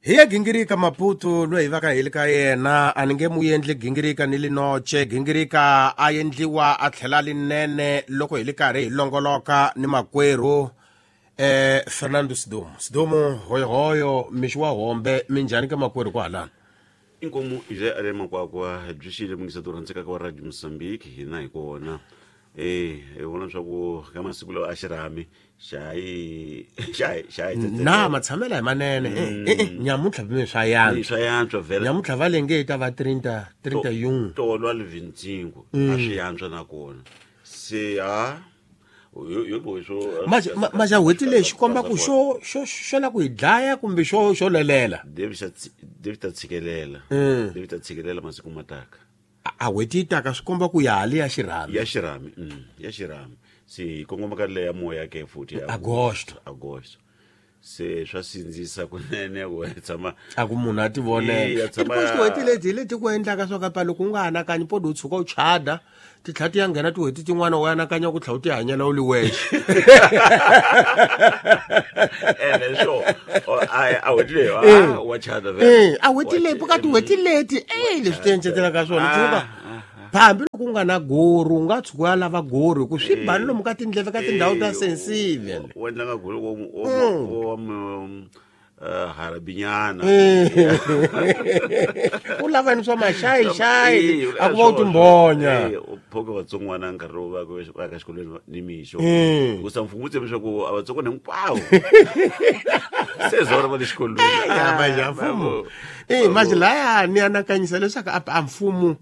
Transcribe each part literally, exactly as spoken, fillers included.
Hi ya gingirika Maputo loyi hi vaka hi le ka yena a ni nge mu endli gingirika ni linoche gingirika a endliwa a tlhela linene loko hi le karhi hi longoloka ni makwerhu eh Fernando Sidumo Sidumo hoyohoyo mixi wa hombe minjhani ka makwerhu kwahalano inkomu je ale makwakwa byi xile mungisa to rhandzeka ka Radio Mozambique hina hi kona eh hi vona swa ku ka masiku lawa a xirhami xayi xayi xayi na matshamela hi manene eh nyamutlha bime swa yantswa swa yantswa vhela nyamutlha va lenge ta va trenta trenta yun tolwa le vinte e cinco a swi yantswa na kona se ha yo yo swo maja maja hweti lexi komba ku xo xo xo la ku hi dlaya kumbe xo xo lelela David David ta tshikelela David ta tshikelela masiku mataka a hweti yi taka swi komba ku ya hali ya xirhami ya xirhami ya xirhami se hi kongoma ka leya moya ke futhi ya Agosto. Agosto se swa sindzisa kunene ku tshama a ku munhu a ti vonela Eh, tshama- tin'hweti leti hi leti ku endlaka swa kapa loko u nga anakanyi podi u tshuka u chada ti tlhela ti ya nghena tin'hweti tin'wana u anakanya ku tlhela u ti hanyela u li wexe ene swo a a hweti leyi ah, wa chada vhele. Eh, a hweti leyi ka tin'hweti leti e leswi ti encetelaka swona tshuka hambi loko u nga na gori u nga tshuka u ya lava gori hi ku swi bani lomu ka tindleve ka tindhawu ta sensitive u endla nga goli wo wo wa harabinyana u lava ni swa maxayixayi a ku va u timbonya u phoke vatsongwana nkarhi lowu va va ya ka xikolweni ni mixo Mm. ku sa mfumo wu tshembi leswaku a vatsongwana hinkwavo se zora va le xikolweni ya manje a mfumo eh manje laya ni anakanyisa leswaku a a mfumo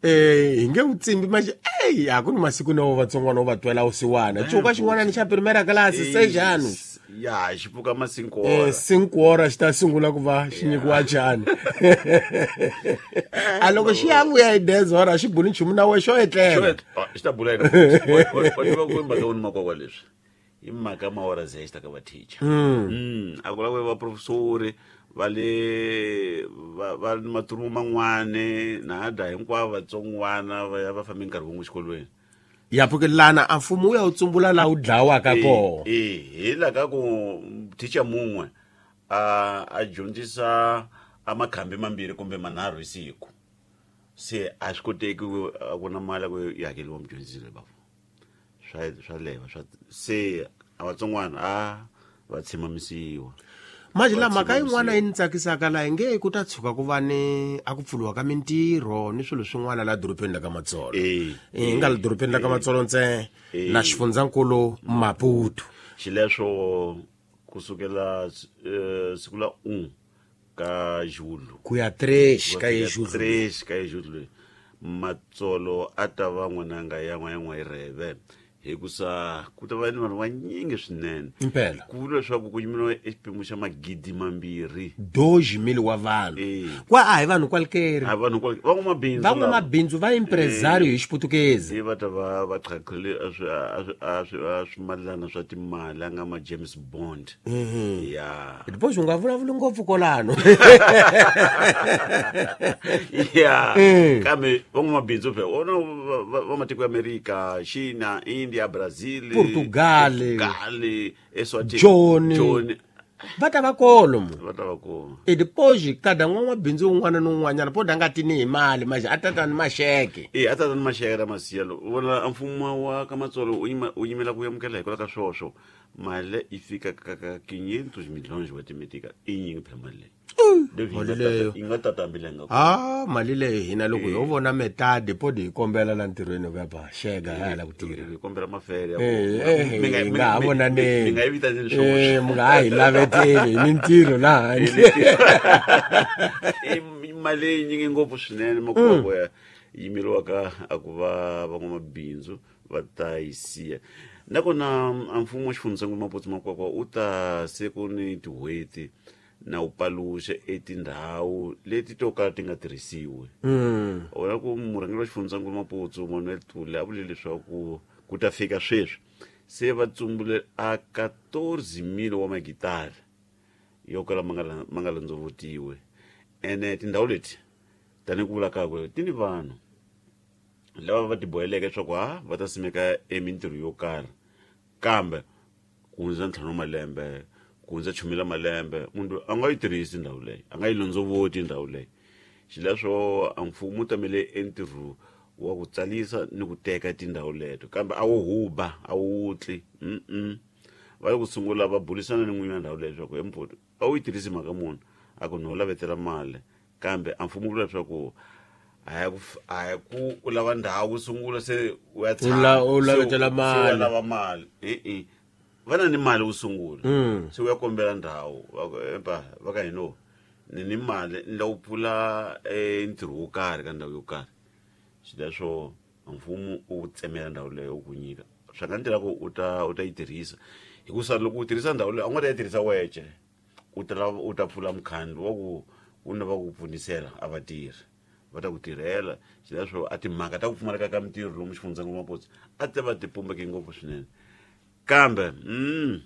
eh hi nge wu tsimbi manje ey a ku ni masiku nawo vatsongwana u va twela vusiwana tshuka xin'wana ni xa primera class seis anos ya xi pfuka ma cinco eh horas cinco horas xi ta sungula ku va xi nyikiwa chani a loko xi ya vuya hi dez horas xi buli nchumu na we xo etlela xi ta bula yini wa tiva ku i mhaka wini makwakwa leswi i mhaka maora zexta ka va teacher mm a ku lava va professori va le va va ni maturumu man'wani na da hinkwavo vatsongwana va ya va fambe nkarhi wun'we xikolweni ya pfuke lana a mfumo wu ya wu tsumbula laha wu dlawaka kona e hi la ka ku teacher mun'we a a dyondzisa a makhambi mambirhi kumbe manharhu hi siku se a swi koteki ku a ku na mali ya ku yi hakeliwa mudyondzisi loyi bafu swa swa leva swa se a vatsongwana a va tshimamisiwa manje la mhaka yin'wana yi ni tsakisaka laha hi nge ku ta tshuka ku va ni a ku pfuriwa ka mintirho ni swilo swin'wana laha dorobeni la ka Matsolo Eh, hi nga le dorobeni la ka Matsolo ntsena Eh. na xifundzankulu Maputo xileswo kusukela eh, siku la un ka Julho ku ya três ka ye Julho três ka Julho Matsolo a ta va n'wananga ya n'wa ya n'wa ireve hikusa ku ta va ni vanhu vanyingi swinene Impela. ku vuriwa leswaku ku yimeriwa exipimo xa magidi mambirhi dois mil wa vanhu Eh. kwa a hi vanhu kwalikeri a vanhu kwale- van'wamabindzu lava. van'wamabindzu va impresario hi xiputukezi se va ta va va qhaqhile a swi a swi a swi a swimalana swa timali a nga ma James Bond ya depois u nga vulavuli ngopfu kolano ya Mm. kambe van'wamabindzu phela vona va- va va matiko ya Amerika China India Brazil Portugal. Portugal Eswatini Joni. Joni va ta va kolo mu va ta va kona e depois kada n'wan'wabindzu un'wana ni un'wanyana po nga tini hi mali manje a tata ni maxeke e a tata ni maxeke ra masiyalo u vona a mfumo wa ka Matsolo u yima u yimela ku amukela hikwalaho ka swoswo mali yi fika ka ka quinhentos milhões wa timetika i nyingi phela mali leyi David, Mali yi nga leyo. tata- yi nga tata mbilenga a mali leyi hina loko ho vona metadi podi hi kombela la ntirhweni ku ya ba xeka ha la ku tirha hi kombela mafele ya ku- Eh, eh, Mi nga- hi mi nga ha mi- mi vonaneni nga yi vitaneli Eh, swoxe mi nga ha hi laveteli hi mintirho laha handle i mali leyi nyingi ngopfu swinene makwakwa ya yimeriwaka a ku va van'wamabindzu va ta yi siya nakona a mfumo wa xifundzankulu Maputo Makwakwa u ta se ku ni tin'hweti na u paluxa etindhawu leti to kala ti nga tirhisiwi vona ku murhangeri wa xifundzankulu Maputo Manuel Tule a vule leswaku ku ta fika sweswi se va tsumbule a quatorze mil wa magitara yo kala ma nga la- ma nga landzovotiwi ene tindhawu leti tanihi ku vula kakwe ti ni vanhu lava va tiboheleke leswaku ha va ta simeka emintirho yo karhi kambe ku hundza ntlhanu wa malembe ku ku hundza chumela malembe munhu a nga yi tirhisi ndhawu leyi a nga yi londzovoti ndhawu leyi xileswo a mfumo wu tamele entirho wa ku tsalisa ni ku teka tindhawu leto kambe a wu huba a wu wutli mm va le ku sungula va burisana ni n'winyi wa ndhawu leyi leswaku empoto a wu yi tirhisi mhaka munhu a ku no lavetela mali kambe a mfumo wu vula leswaku a ya ku a ya ku u lava ndhawu ku sungula se u ya tshama u lavetela mali u lava mali e-e va na ni mali ku sungula se u ya kombela ndhawu empa va ka hino ni ni mali ni lava ku pfula ntirho wo karhi ka ndhawu yo karhi xileswo mfumo u tsemela ndhawu leyo u ku nyika swa nga ndlela ku u ta u ta yi tirhisa hikusa loko u tirhisa ndhawu leyo a nga ta yi tirhisa wexe u ta u ta pfula mukhandlu wa ku u na va ku pfunisela a vatirhi va ta ku tirhela xileswo a timhaka ta ku pfumaleka ka mintirho lomu xifundzankulu Maputo a ti va ti pumbeke ngopfu swinene kambe mm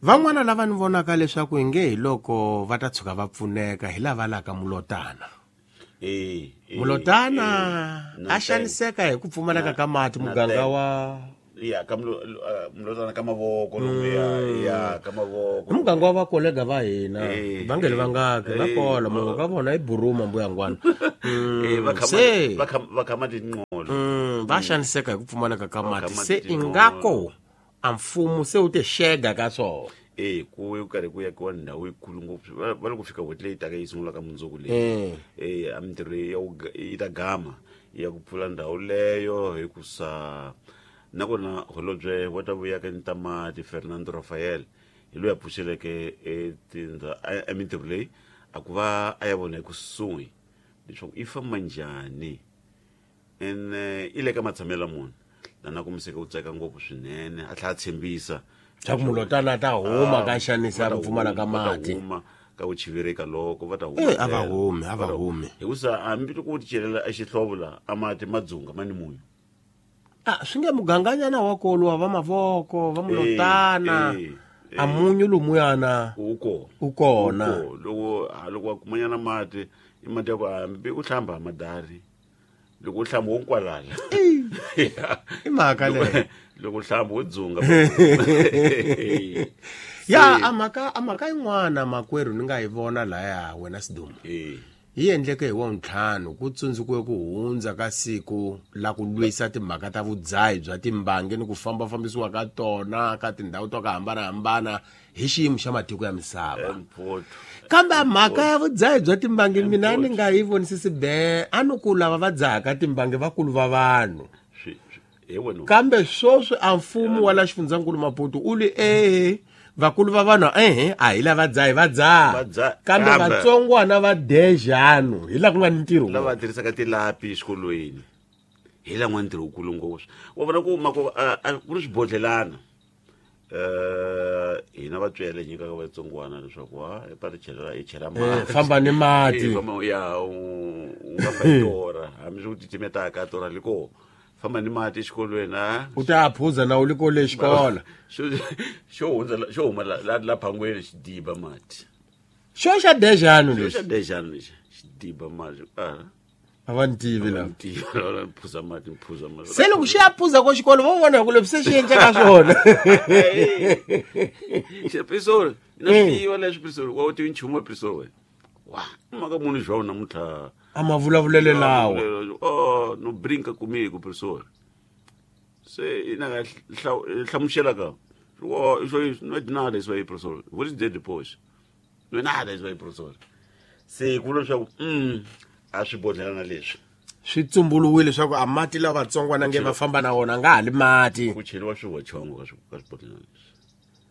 van'wana lava ni vonaka leswaku inge hi loko va ta tshuka va pfuneka hi lava laka mulotana eh mulotana a xaniseka hi ku pfumaleka ka mati muganga wa ya ka mulotana ka mavoko lomu ya ya ka mavoko muganga wa vakolega va hina va nge li vangaki va kola munhu ka vona i buruma mbuyangwana eh va khama va khama va khama tinqolo va xaniseka hi ku pfumaleka ka mati se ingako a mfumo se wu te xega ka swona eh ku ku karhi ku yakiwa ndhawu yikulu ngopfu va le ku fika n'hweti leyi taka yi sungula ka mundzuku leyi eh a mintirho leyi yi ta gama ya ku pfula ndhawu leyo hikusa nakona holobye wa ta vuya ka Ntamati Fernando Rafael hi loyi a pfuxeleke etindha a mintirho leyi a ku va a ya vona ekusuhi leswaku i famba njhani ene i le ka matshamelo munhu lana kumiseke u tsaka ngopfu swinene a tlhela a tshembisa swa ku mulotana ta huma ka xanisa ku pfumala ka mati ka ku chivereka loko va ta huma a va humi a va humi hikusa hambi loko u ti celela exihlovo la a mati ma dzunga ma ni munyu a swi nge muganganyana wa koluwa va mavoko va mulotana a munyu lumuyana u kona u kona loko loko wa kumanyana mati i mati ya ku hambi u hlamba madari loko u hlamba wo nkwalala i mhaka leyo loko u hlamba wo dzunga ya a mhaka a mhaka yin'wana makwerhu ni nga yi vona laya wena Sidumo yi endleke hi wa ntlhanu ku tsundzukiwe ku hundza ka siku la ku lwisa timhaka ta vudzahi bya timbangi ni ku fambafambisiwa ka tona ka tindhawu to ka hambanahambana hi xiyimo xa matiko ya misava kambe mhaka ya vudzahi bya timbangi mina ni nga yi vonisisi be a ni ku lava va dzahaka timbangi vakulu va vanhu kambe sweswi a mfumo wa la xifundzankulu Maputo u li ehe vakulu va vanhu ehe a hi lava dzahi va dzaha kambe vatsongwana va dejano hi laha ku nga ni ntirho lava tirhisaka tilapi exikolweni hi laha nga ntirho wukulu ngopfu wa vona ku mako ku ri swibodlelana um hina vatswele hi nyikaka vatsongwana leswaku ha pa ri chela hi chela mati famba ni mati ya u nga fa torha hambi swi ku titimetaka torha li koho famba ni mati exikolweni a u ta phuza na u li kole xikolo xo xo hundza xo huma la la phangweni xi diba mati xo xa dejano lexi xo xa dejano lexi xi diba mati a a va ni tivi la la phuza mati phuza mati se loko xi ya phuza ko xikolo vo vona ku leswi se xi endleka swona xi prisori na swi tiva leswi prisori wa u tivi nchumu wa prisori wena wa maka munhu João namuntlha a ma vulavulele lawa oh no brinca comigo professor se ina nga hlamusela ka oh isso aí não é de nada isso aí professor vou dizer depois não é nada isso aí professor se ku leswaku mm a swi bodlelana leswi swi tsumbuluwile leswaku a mati lawa vatsongwana nge va famba na wona nga ha li mati ku cheriwa swivochongo ka ka swibodlelana leswi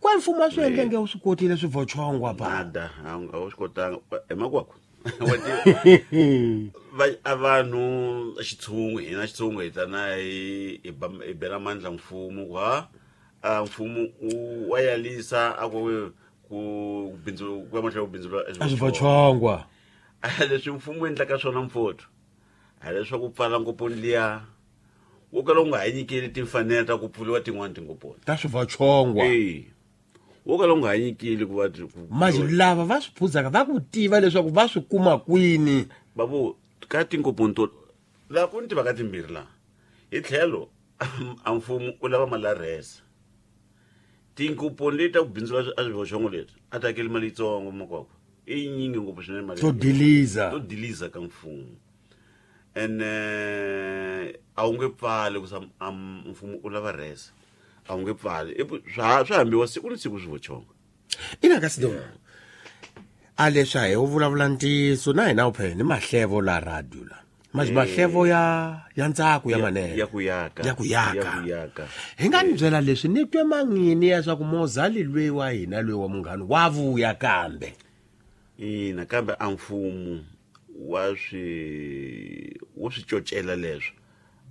kwa mfumo wa swi endle nge u swi kotile swivochongo pa nada a wu swi kotanga emakwako va a vanhu xitshungu hina xitshungu hi tana hi hi bela mandla mfumo ku ha a mfumo u wa yalisa a ku ku bindzu ku ya mahlweni ku bindzula a swivochongwa a leswi mfumo wu endlaka swona mfotho a leswaku pfala ngoponi liya wo kala u nga ha nyikeli timfanelo ta ku pfuriwa tin'wani tingoponi ta swivochongwa e wo kala u nga ha nyikeli ku va manje lava va swi phuzaka va ku tiva leswaku va swi kuma kwini babu ka tingoponi to laha ku ni timhaka timbirhi laha hi tlhelo a mfumo u lava mali ya rhesa Tinkuponi leti ta ku bindzula a swivoxongo leti a ti hakeli mali yitsongo makwakwa i yinyingi ngopfu swinene mali to diliza to diliza ka mfumo ene a wu nge pfali ku sa mfumo u lava rhesa a wu nge pfali swa swa hambiwa siku ni siku swivoxongo ina ka sido a leswi a hi u vulavula ntiyiso na hina u phela ni mahlevo la radio la mas mahlevo ya ya ntsako ya manene ya ku yaka ya ku yaka ya ku yaka hi nga ni byela leswi ni twe mangini ya swa ku mozali lwe wa hina lwe wa munghana wa vuya kambe ina kambe a mfumo wa swi wo swi cocela leswo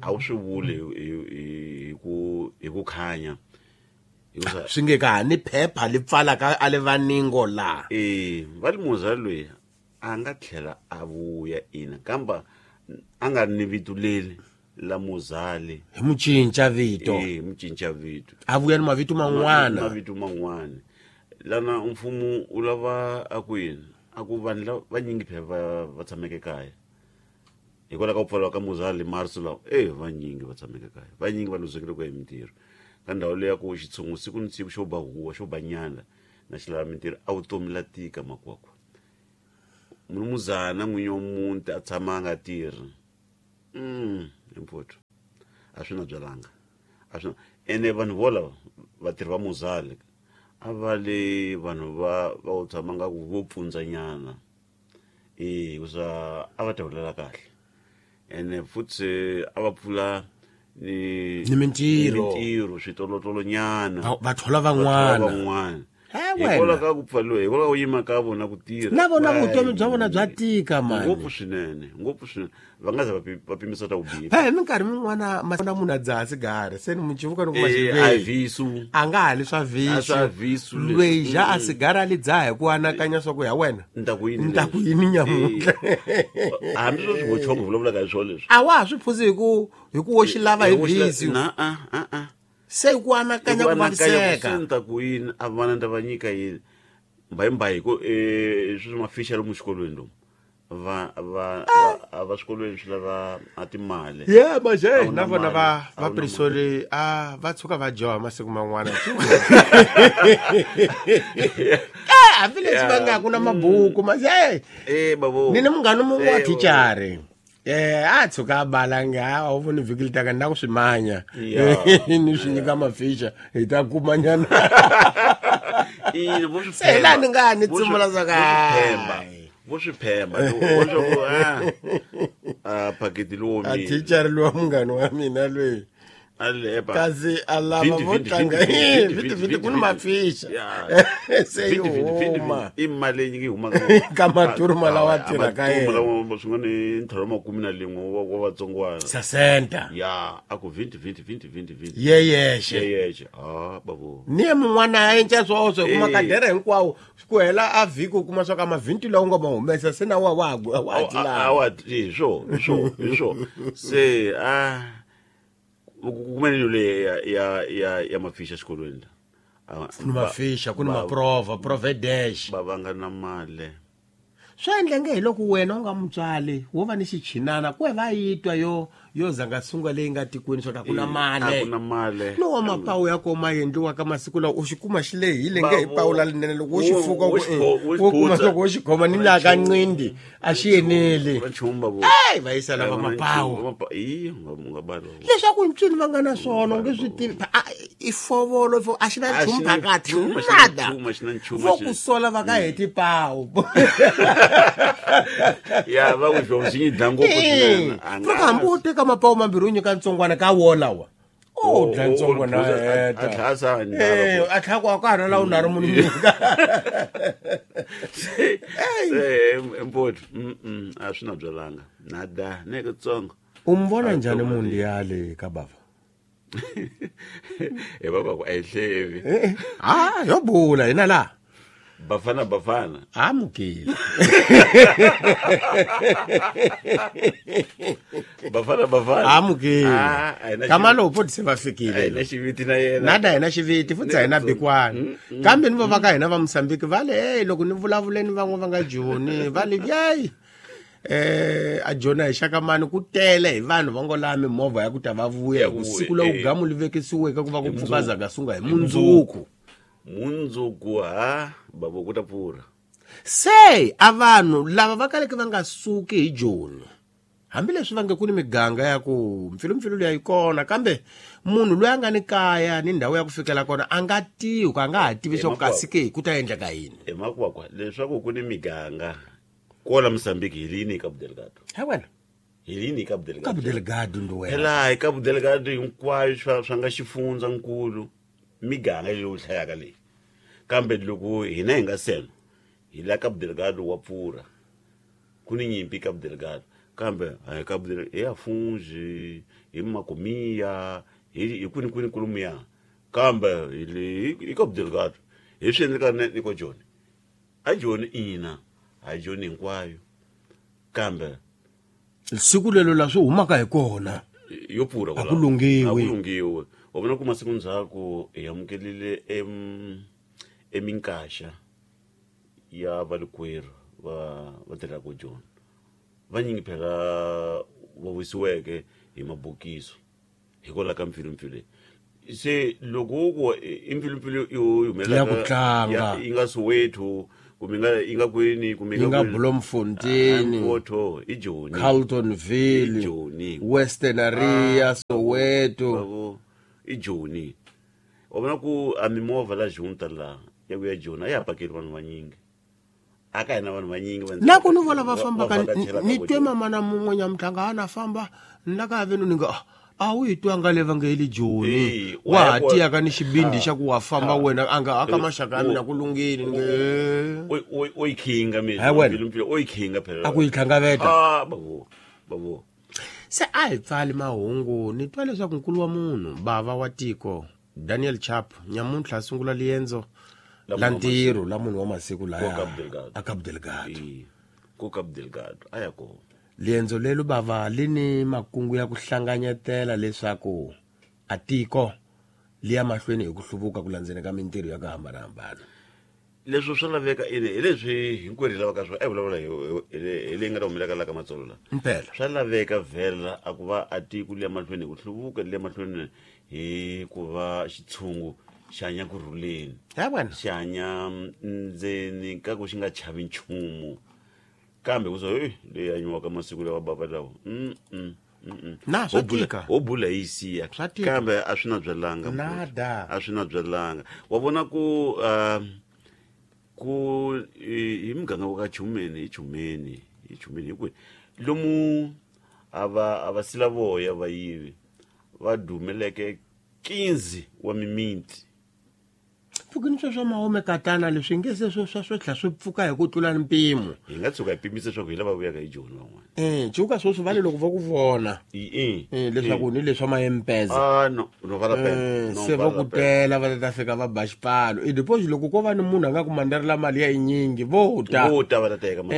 a wu swi vuli hi ku hi ku khanya swi nge ka ni phepha li pfalaka a le vaningo la eh va ri mozali loyi a nga tlhela a vuya ina kamba a nga ri ni vito leri la mozali hi mu cinca vito eh mu cinca vito a vuya ni mavito man'wana mavito man'wana lana mfumo u lava a ku yini a ku vanhu lava vanyingi phela va va tshameke kaya hikwalaho ka ku pfariwa ka mozali marso lawa e vanyingi va tshameke kaya vanyingi va luzekile ku ya hi mintirho ka ndhawu leyi ya ku xitshungu siku ni siku xo ba huwa xo ba nyala na xi lava mintirho a vutomi la tika makwakwa munumuzana n'winyi wa muti a tshama a nga tirhi mm impfuthu a swi na byalanga a swi ene vanhu volava vatirhi va mozali a va le vanhu va va u tshama nga ku vo pfundzanyana e hikusa a va ta hulela kahle ene futhi a va pfula ni ni mintirho mintirho switolotlolonyana va thola van'wana van'wana hikwalaho ka ku pfaliwa hikwalaho ka ku yima ka vona ku tirha na vona vutomi bya vona bya tika mani ngopfu swinene ngopfu swinene va nga za va pimisa ta ku biha phela hi minkarhi min'wana na munhu a dzaha sigara se ni mucivuka ni kuma a visu a nga hali swa visu swa visu lweyi ja a sigara a li dzaha hi ku anakanya swa ku ya wena ni ta ku yini ni ta ku yini nyamuntlha hambi swo swivochongo vulavulaka hi swona leswi a wa ha swi phuzi hi ku hi ku wo xi lava hi visu na a a a se ku anakanya ku vaviseka se ni ta ku yini a vana ni ta va nyika yini mbayimbayi hi ku um sweswi mafixa lomu xikolweni lomu va va a va swikolweni swi lava a timali ye maje na vona va va prisori a va tshuka va dyoha masiku man'wana eh hambileswi va nga ku na mabuku maje eh babo ni ni munghana mun'we wa thichari eh a tshuka a balanga a wu voni vhiki li taka ni na ku swi manya ni swi nyika mafixa hi ta kumanyana ina vo swi se laha ni nga ni tsumula swa ka vo swi phemba vo swa ku a a phaketi lowo a thichari lowa munghana wa mina loyi a lepa kasi a lava vo tlanga vhiti vhiti ku ni mafixa se yi huma i mali leyi yi humaka ka maturuma lawa tirhaka yena lawa swin'wana i ntlhanu makume na lin'we wa wa vatsongwana sasenta ya a ku vhiti vhiti vhiti vhiti vhiti ye yexe ye yexe a babo ni ye mun'wana a enca swoswo kuma kadere hinkwawo ku hela a vhiki u kuma swa ka mavhinti lawa u nga ma humesa se na wa wa wa wa wa hi swo hi swo hi swo se a kumene le ya ya ya ya mafixa xikolweni la ku ni mafixa ku ni maprova provedesh va va nga na mali swi endla nge hi loko wena u nga mutswali wo va ni xichinana ku va yi twa yo yo zanga sunga leyi nga tikweni swa ku na mali a ku na mali no wa mapawu ya koma endliwa ka masiku lawa u xi kuma xi lehile nge hi pawu la linene loko wo xi fuka wo kuma loko wo xi khoma ni laha ka ncindi a xi eneli ey va yisa lava mapawu leswaku ntswini va nga na swona u nge swi tivi i fovolo a xi na nchumu phakathi nada vo ku sola va ka heti pawu ya va ku xo xi dla ngopfu swinene loko hambi wo teka mapawu mambirhi u nyika ntsongwana ka wona wa o dla ntsongwana a tlhasa eh a tlha ku a ka hana la u nari munhu nyika se mpoto mm a swi na byalanga nada ne kutsongo u mi vona njhani munhu yale ka bava e baba ku a yi hlevi ah yo bula hina la Bafana Bafana amukile Bafana Bafana amukile kamalo futhi se va fikile na xiviti na yena nada hina xiviti futhi hina bikwana kambe ni va ka hina va Mozambique va le hey loko ni vulavuleni van'we va nga joni va le yey eh a jona hi xakamani ku tele hi vanhu va ngo laha mimovha ya ku ta va vuya hi siku la u gamu li vekisiweke ku va ku pfuka zaka sunga hi mundzuku Mundzuku ha babo ku ta pfurha. Se a vanhu lava va kaleke va nga suki hi Joni hambileswi va nge ku ni miganga ya ku mpfilumpfilu leyi yi kona kambe munhu loyi a nga ni kaya ni ndhawu ya ku fikela kona a nga tivi ku a nga ha tivi swa ku kasi ke ku ta endleka yini. Hi makwakwa leswaku ku ni miganga kwala Mozambique hi lini Cabo Delgado. Ha wena hi lini Cabo Delgado. Cabo Delgado ndo wena. Phela hi Cabo Delgado hinkwayo swa swa nga xifundza nkulu miganga leyi u hlayaka leyi. Kambe loko hina hi nga sena hi la Cabo Delgado wa pfurha. Ku ni nyimpi Cabo Delgado. Kambe hi Cabo Delgado hi Afungi, hi Makomia, hi hi kwini kwini kulumiya. Kambe hi le hi Cabo Delgado hi swi endleka ni ko Joni. A Joni ina, a Joni hinkwayo. Kambe siku lelo la swi humaka hi kona yo pfurha a ku lunghiwi. A ku lunghiwi. Wa vona ku masiku ndzhaku hi amukelile em eminkaxa ya valikwerhu va va tirhaka Joni. Vanyingi phela va wisiweke hi mabokiso hikwalaho ka mpfilumpfilu. Se loko ku i mpfilumpfilu yo humelela ya ku tlanga yi nga Soweto kumbe nga yi nga kwini kumbe yi nga Bloemfontein, Photo i Joni, Carltonville, Joni, Western Area, Soweto i Joni. Wa vona ku a mimovha la junta la ya ku ya Joni a ya pakeli vanhu vanyingi. Aka hina vanhu vanyingi va na ku ni vona va fambaka ni twe mama na mun'we nyamutlanga a na famba ni la ka venu ni nga a wu yi twanga le va nge yi le Joni wa ha tiyaka ni xibindi xa ku wa famba wena a nga aka maxaka ya mina ku lunghile ni nge o yi khinga mina mpfilumpfilu o yi khinga phela a ku yi tlangaveta. Ah bavo bavo se a hi pfali mahungu ni twa leswaku nkulu wa munhu bava wa tiko Daniel Chapo nyamuntlha a sungula liendzo la ntirho la munhu wa masiku laya a Cabo Delgado. Ko Cabo Delgado a ya kona. Liendzo lelo bava li ni makungu ya ku hlanganyetela leswaku a tiko li ya mahlweni hi ku hluvuka ku landzeni ka mintirho ya ku hambanahambana. Leswo swa laveka ene hi leswi hinkwerhu hi lavaka swona. A hi vulavula hi hi leyi nga ta humelaka la ka Matsolo la. Mpela swa laveka vhela a ku va a tiko li ya mahlweni hi ku hluvuka li ya mahlweni hi ku va xitshungu xi hanya kurhuleni. Ha wena xi hanya ndzeni ka ku xi nga chavi nchumu. Kambe ku so hey leyi hanyiwaka masiku lawa bava lawa mm mm mm na swa tika ho bula yi siya kambe a swi na byelanga nada a swi na byelanga. Wa vona ku ku hi muganga wa ka Chumeni hi Chumeni hi Chumeni hi kwihi lomu a va a va sila voya va yivi va dumeleke quinze wa mimiti. Pfukini sweswo mahome katana leswi nge se swo swa swo tlhela swi pfuka hi ku tlula mpimo. Hi nga tshuka hi pimise leswaku hi lava vuyaka hi Joni van'wana. Eh, cuka sweswi va le loko va ku vona. Eh, eh leswaku ni leswa maempeza. Ah no, no va la pena. Se va ku tela va ta fika va ba xipfalo. I deposit loko ko va ni munhu a nga ku mandarela mali ya yinyingi vo ta. Vo ta va ta teka mali.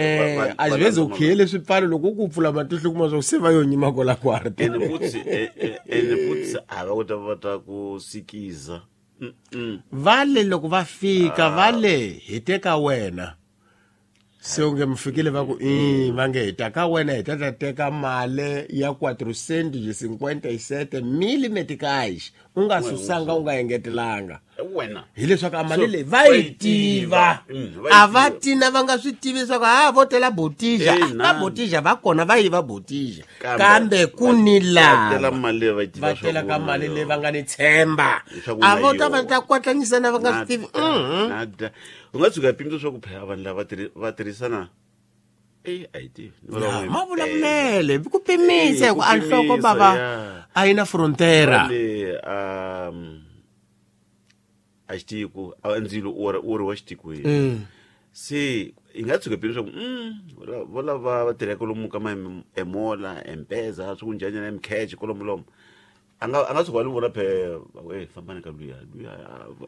A xi veze u khiyele swipfalo loko ku pfula matihlo kuma swa se va yo nyima kola kwarta. Ene futsi ene futsi a va ku ta va ta ku sikiza. Mm-mm. Vale loko va fika vale hi teka wena se u nge mi fikile va ku i va nge hi ta ka wena hi ta ta teka mali ya quatrocentos e cinquenta e sete mil meticais u nga susanga u nga engetelanga wena hileswaku a mali leyi va yi tiva a va tina va nga swi tivi leswaku ha vo tela botija va botija va kona va yi va botija kambe ku ni lava va tela ka mali leyi va nga ni tshemba a vo ta va ta kwatlanyisana va nga swi tivi. U nga tshuka pimisa swa ku phela vanhu lava va tirhisana eh a yi tivi ma vulavulele ku pimise ku a nhloko bava a yi na frontera um a xitiko a ndzilo u ri wa xitikweni se hi nga tshuka pimisa ku mm vo lava va tirhaka lomu ka ma emola empeza swi ku njhani na mcash kolomo lomo a nga a nga tshuka a ni vona phe e fambani ka luya luya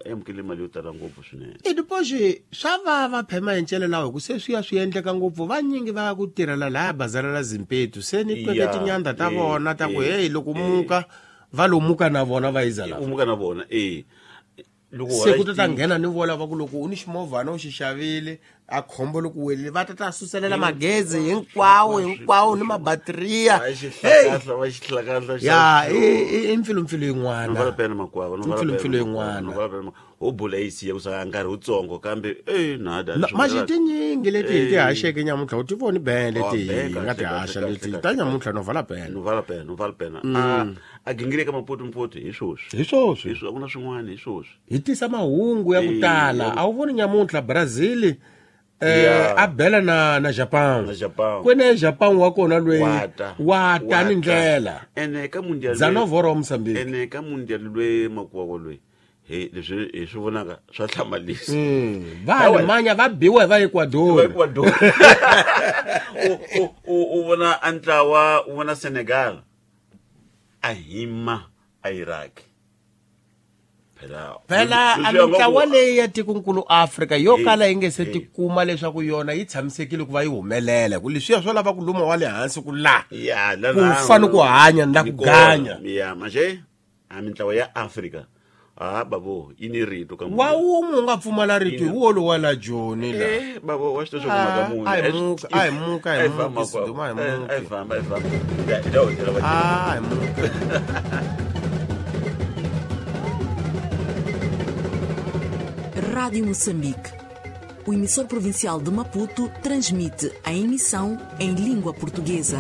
amukele mali yo tala ngopfu swinene. I diposi swa vava phema hi ncele lawa hi ku se swi ya swi endleka ngopfu vanyingi va ku tirhela laya bazara la Zimpetu se ni tweke tinyanda ta vona ta ku heyi loko muka va lomuka na vona va yiza lava u muka na vona e loko se ku ta ta nghena ni vola va ku loko u ni ximovhana u xi xavile A khombo loko welile va ta ta suselela magezi hinkwawo hinkwawo ni mabateriya. Va xihlakahla va xihlakahla. Ya i i mpfilumpfilu yin'wana. No vala pena makwavo, no vala Mpfilumpfilu yin'wana. No vala pena. Ho bula yi siya ku sa nkarhi wutsongo kambe eh nada. Manje tinyingi leti hi ti haxeke nyamuntlha u ti voni bene leti Oh, hi nga ti haxa leti ta nyamuntlha no vala pena. No vala pena, no vala pena. A a gingirika Maputo Mputi hi swoswi. Hi swoswi. Hi swoswi, a ku na swin'wana hi swoswi. Hi tisa mahungu ya ku tala. A wu voni nyamuntlha Brazil eh Yeah. a bela na na Japan. Na Japan. Kwene Japan wa kona lweyi Wata. wata ni ndlela. Ene ka mundial. Zanovoro wa Mozambique. Ene ka mundial lwe makwavo lwe. He leswi hi swi vonaka swa hlamalisa. Mm. Va Alemanya va biwa hi va Ecuador. Va Ecuador. U u u u vona a ntlawa, u vona Senegal. A hima a Iraq. Phela Phela a leswi nga mintlawa ku- leyi ya tikonkulu Afrika yo Eh, kala yi nge se eh. tikuma leswaku yona yi tshamisekile ku va yi humelela ku leswiya swo lava ku luma wa le hansi ku la Ya, la ku na- fana ku hanya na ku ni kona. ganya. Ya, manje a mintlawa ya Afrika. Ah babo, yi ni rito ka Wa wun'we u nga pfumala rito hi wo lowa la Joni la. Eh, babo, wa swi tiva swa ku mhaka muni. A hi muka, a hi muka, a hi A hi famba, muki, Siduma, a hi a hi muki. famba, a hi famba. Ya, hi ta wu byela va- A hi muki. Rádio Moçambique. O emissor provincial de Maputo transmite a emissão em língua portuguesa.